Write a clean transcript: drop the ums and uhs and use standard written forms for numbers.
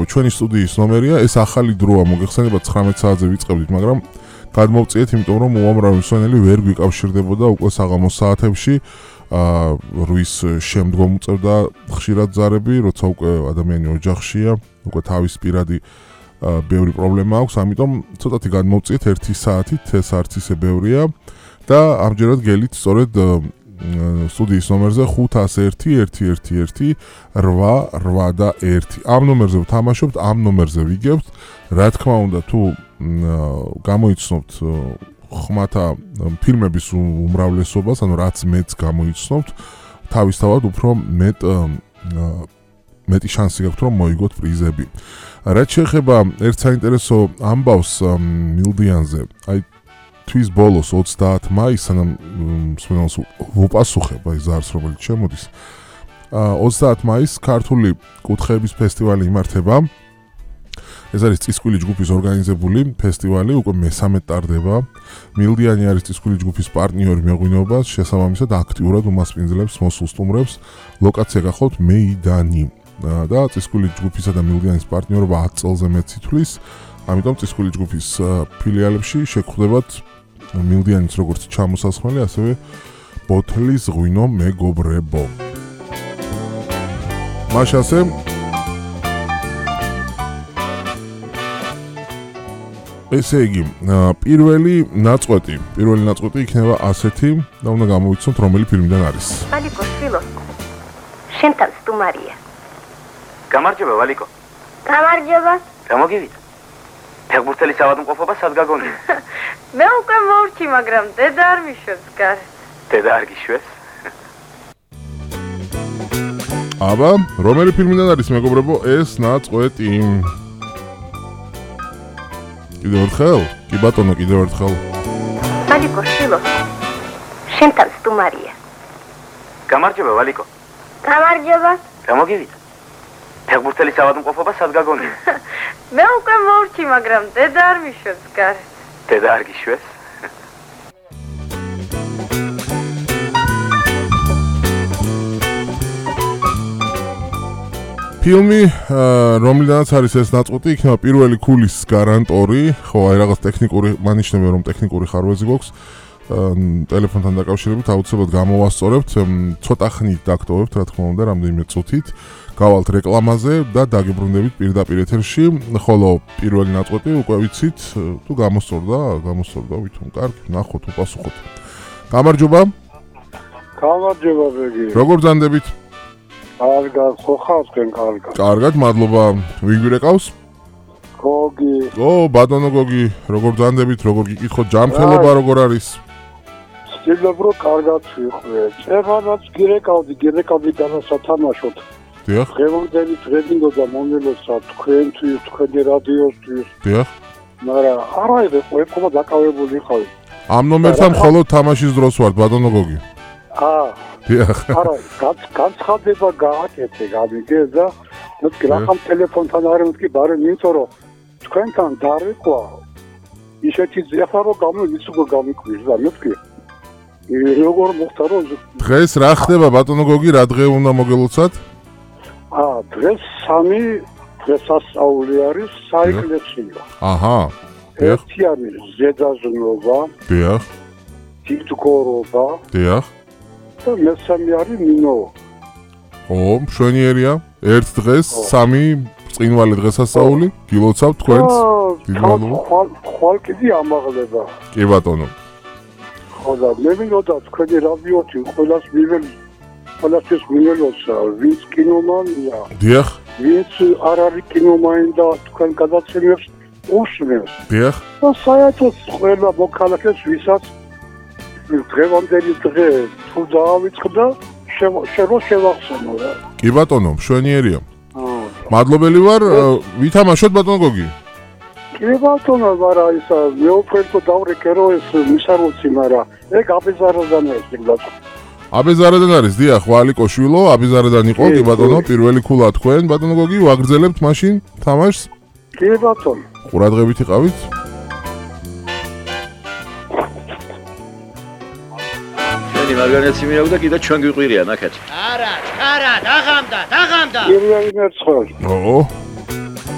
ჩვენი სტუდიის ნომერია, ეს ახალი დროა, მოგეხსენებათ 19 საათზე ვიწყებდით, მაგრამ გადმოვწიეთ, იმიტომ რომ უამრავი მსმენელი ვერ გვიკავშირდებოდა უკვე საღამოს საათებში. 8-ის შემდგომ უწევდა ხშირად ზარები, როცა უკვე ადამიანი ოჯახშია, უკვე თავის პირადი ბევრი პრობლემა აქვს, ამიტომ ცოტათი გადმოვწიეთ 1 საათით, ეს არც ისე ბევრია და ამჯერად გელით სწორედ სტუდიის ნომერზე 501-111-881. ამ ნომერზე ვთამაშობთ, ამ ნომერზე ვიგებთ. რა თქმა უნდა, თუ გამოიცნობთ ხმათა ფილმების უმრავლესობას, ანუ რაც მეც გამოიცნობთ, თავისთავად უფრო მეტი შანსი გაქვთ, რომ მოიგოთ პრიზები. რაც შეეხება ერთ საინტერესო ამბავს მილდიანზე, აი თვის ბოლოს 30 მაისს, სანამ მსმენელს ვუპასუხებ აი ზარს, რომელიც შემოდის. 30 მაისს ქართული კუთხეების ფესტივალი იმართება. ეს არის წისკვილი ჯგუფის ორგანიზებული ფესტივალი, უკვე მე-13 ტარდება. მილდიანი არის წისკვილი ჯგუფის პარტნიორი მეღვინეობას, შესაბამისად აქტიურად უმასპინძლებს მოსულ სტუმრებს. ლოკაცია გახლავთ მეიდანი. და წისკვილი ჯგუფისა და მილდიანის პარტნიორობა 10 წელზე მეტ ითვლის. ამიტომ წისკვილი ჯგუფის ფილიალებში შეგხვდებათ მილდიანის როგორც ჩამოსასხმელი, ასევე ბოთლის ღვინო მეგობრებო. მაშასე ესე იგი, პირველი ნაწყვეტი იქნება ასეთი და უნდა გამოვიცნოთ რომელი ფილმიდან არის. ვალიკო შვილო, შენთან სტუმარია. გამარჯობა ვალიკო. გამარჯობა. გამოგივიდა. ფეხბურთელი საავადმყოფობა სად გაგონია? მე უკვე მოვrķი, მაგრამ დედა არ მიშვებს გარეთ. დედა არ გიშვებს? აბა, რომელი ფილმიდან არის მეგობრებო ეს ნაწყვეტი? კიდევ ერთხელ? კი ბატონო, კიდევ ერთხელ. ვალიკო შვილო, შენთან სტუმარია. გამარჯობა ვალიკო. გამარჯობა. გამოგივიდა. ფეხბურთელი საავადმყოფობა სად გაგონია? მე უკვე მოვrķი, მაგრამ დედა არ მიშვებს გარეთ. დედა არ გიშვებს? ფილმი, რომლიდანაც არის ეს ნაწყვეტი, იქნება პირველი ქულის გარანტორი, ხო, აი რაღაც ტექნიკური, მანიშნებია რომ ტექნიკური ხარვეზი გვაქვს. ტელეფონთან დაკავშირებით აუცილებლად გამოვასწორებთ, ცოტა ხნით დაგტოვებთ, რა თქმა უნდა, რამდენიმე წუთით. გავალთ რეკლამაზე და დაგიბრუნდებით პირდაპირ ეთერში, ხოლო პირველი ნაწყვეტი უკვე ვიცით, თუ გამოსწორდა, ვითომ კარგი, ნახოთ, უპასუხოთ. გამარჯობა. გამარჯობა ბეგი. როგორ ბრძანდებით? კარგად, ხო ხართ კარგად. კარგად, მადლობა. ვინ გვირეკავს? გოგი. ბატონო გოგი, როგორ ბრძანდებით, როგორ გიკითხოთ, ჯანმრთელობა როგორ არის? ვცდილობ რომ კარგად ვიყვე. წერანაც გირეკავდი განასათამაშოთ. დიახ. დღევანდელი ტრენინგობა მომელოცა თქვენთვის, თქვენი რადიოსთვის. დიახ. მაგრამ არა იღე ყოება დაკავებული ხავი. ამ ნომერთან მხოლოდ თამაშის დროს ვართ, ბატონო გოგი. დიახ. არა, განცხადება გააკეთე, გამიგე და მეთქი რახან ტელეფონთან არ მეთქი ბარე იმიტომ რომ თქვენთან დარეკვა ისეთი ზეფა რომ გამიკვირს და მეთქი როგორ მოხდა რომ დღეს რა ხდება ბატონო გოგი, რა დღე უნდა მოგელოცათ? დღეს 3 დღესასწაული არის საეკლესიო. აჰა. ერთი არის ზედაზნობა. დიახ. თითქორობა. დიახ. და მესამე არის მინო. მშვენიერია. ერთ დღეს 3 წინვალი დღესასწაული გილოცავთ თქვენს. ხვალ კიდე ამაღლება. კი ბატონო. ხო და მე მინდოდა თქვენი რადიოთი ყველასთვის მინელოცა ვინც კინომანია. დიახ. ვინც არ არის კინომანი და თქვენ გადაცემებს უსმენს. დიახ. და საერთოდ ყველა მოქალაქეს ვისაც დღევანდელი დღე თუ დაავიწყდა შევახსენო რა. კი ბატონო, მშვენიერია. მადლობელი ვარ, ვითამაშოთ ბატონო გოგი. კი ბატონო, მაგრამ ისა მეუფერთო დავრეკერო ეს მისაროცი, მაგრამ ეგ აბეზარადან არის ეგ. აბეზარადან არის, დიახ, ვალიკო შვილო, აბეზარადან იყო, კი ბატონო, პირველი ქულა თქვენ, ბატონო გოგი, ვაგრძელებთ მაშინ თამაშს. კი ბატონო. ყურადღებით იყავით. მარგარეტი მიაქვს და კიდე ჩვენ გვიყვირია ნახეთ. არა, დაღამდა. პირველი მერცხალი.